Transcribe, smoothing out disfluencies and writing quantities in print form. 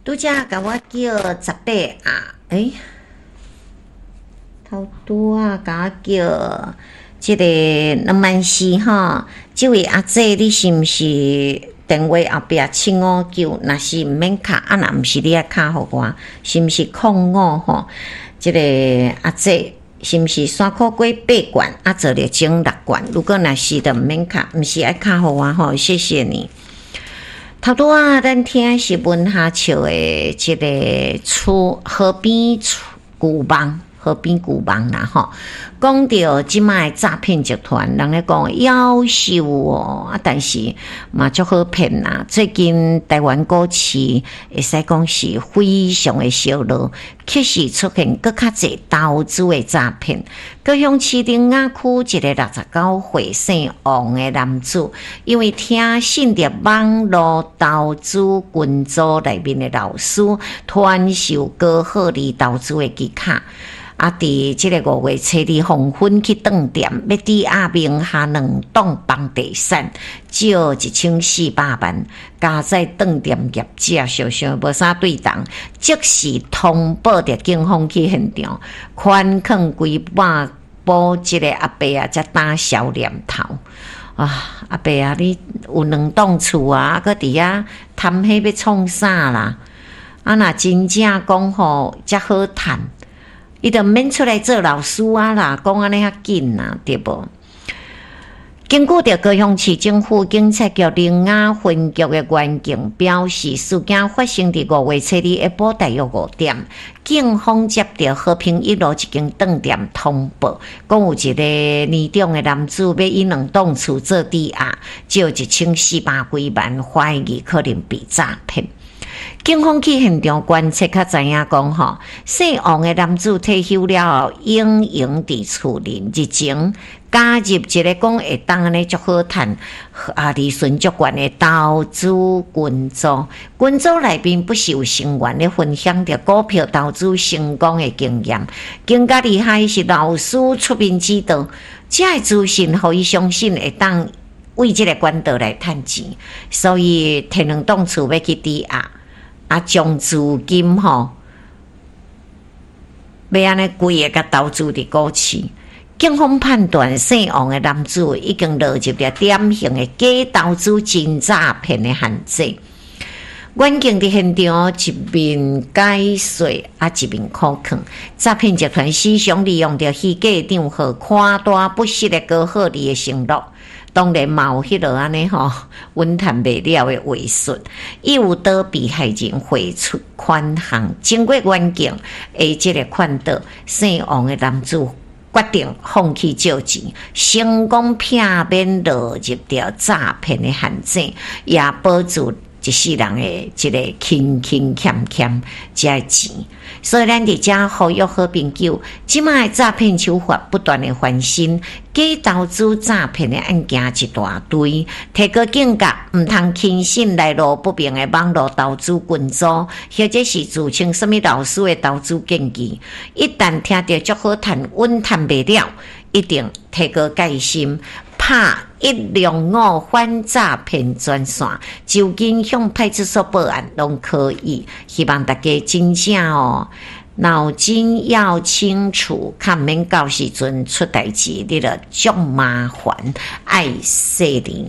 拄才共我叫十八啊，欸，頭拄仔共我叫這个2萬4吼，這位阿姐，你是毋是電話後壁七五九？若是毋免敲，啊若毋是你愛敲予我，是毋是空五吼？這个阿姐是毋是山箍粿八罐，啊做了整六罐？如果若是就毋免敲，毋是愛敲予我吼，謝謝你。頭拄仔咱聽是文夏笑的這个厝河邊舊夢，河邊舊夢啦吼。講著這擺的詐騙集團，人咧講夭壽哦，啊，但是嘛足好騙啦。最近台灣股市會使講是非常的燒熱，確實出現閣較濟投資的詐騙。高雄市苓雅區一个69歲姓王的男子，因為聽信著網路投資群組內面的老師傳授高獲利投資的技巧。啊！佇這个5月初二黃昏去當店，欲抵押名下兩棟房地產，借1400萬，加載當店業者想想無啥對頭，即時通報著警方去現場，寬囥規百補這个阿伯啊，才打消念頭。啊，阿伯啊，你有兩棟厝啊，閣佇遐貪彼欲創啥啦？啊，若真正講吼，遮好趁。伊就毋免出來做老師啊啦，講按呢較緊啦，對無？根據著高雄市政府警察局苓雅分局的員警表示，事件發生佇5月初二下晡大約5點，警方接著和平一路一間當店通報，講有一个年長的男子欲以兩棟厝做抵押，借1400幾萬，懷疑可能被詐騙。警方去現場觀測，才知影講吼，姓王的男子退休了後，隱形佇厝內，日前加入一个講會當按呢足好趁，啊利潤足懸的投資群組。群組內面不時有成員咧分享著股票投資成功的經驗。更加厲害是老師出面指導，這个資訊予伊相信會當為這个管道來趁錢，所以提兩棟厝欲去抵押。啊，將資金吼，欲按呢規个共投資佇股市。警方判斷，姓王的男子已經落入了典型的假投資真詐騙的陷阱。員警佇現場一面解說，啊一面苦勸，詐騙集團時常利用著虛假帳號，誇大不實的高獲利的承諾。當然嘛有彼落按呢吼，穩趁袂了的話術，伊有倒被害人匯出款項。經過員警的這个勸導，姓王的男子決定放棄借錢，成功避免落入著詐騙的陷阱，也保住一世人的這个勤勤儉儉這个錢。所以咱佇遮呼籲好朋友，這擺的詐騙手法不斷的翻新，假投資詐騙的案件一大堆，提高警覺，毋通輕信來路不明的網路投資群組，或者是自稱啥物老師的投資建議。一旦聽著足好趁，穩趁袂了，一定提高戒心，拍105反詐騙專線，就近向派出所報案攏可以。希望大家真正哦，腦筋要清楚，較毋免到時陣出代誌，你就足麻煩，愛細膩。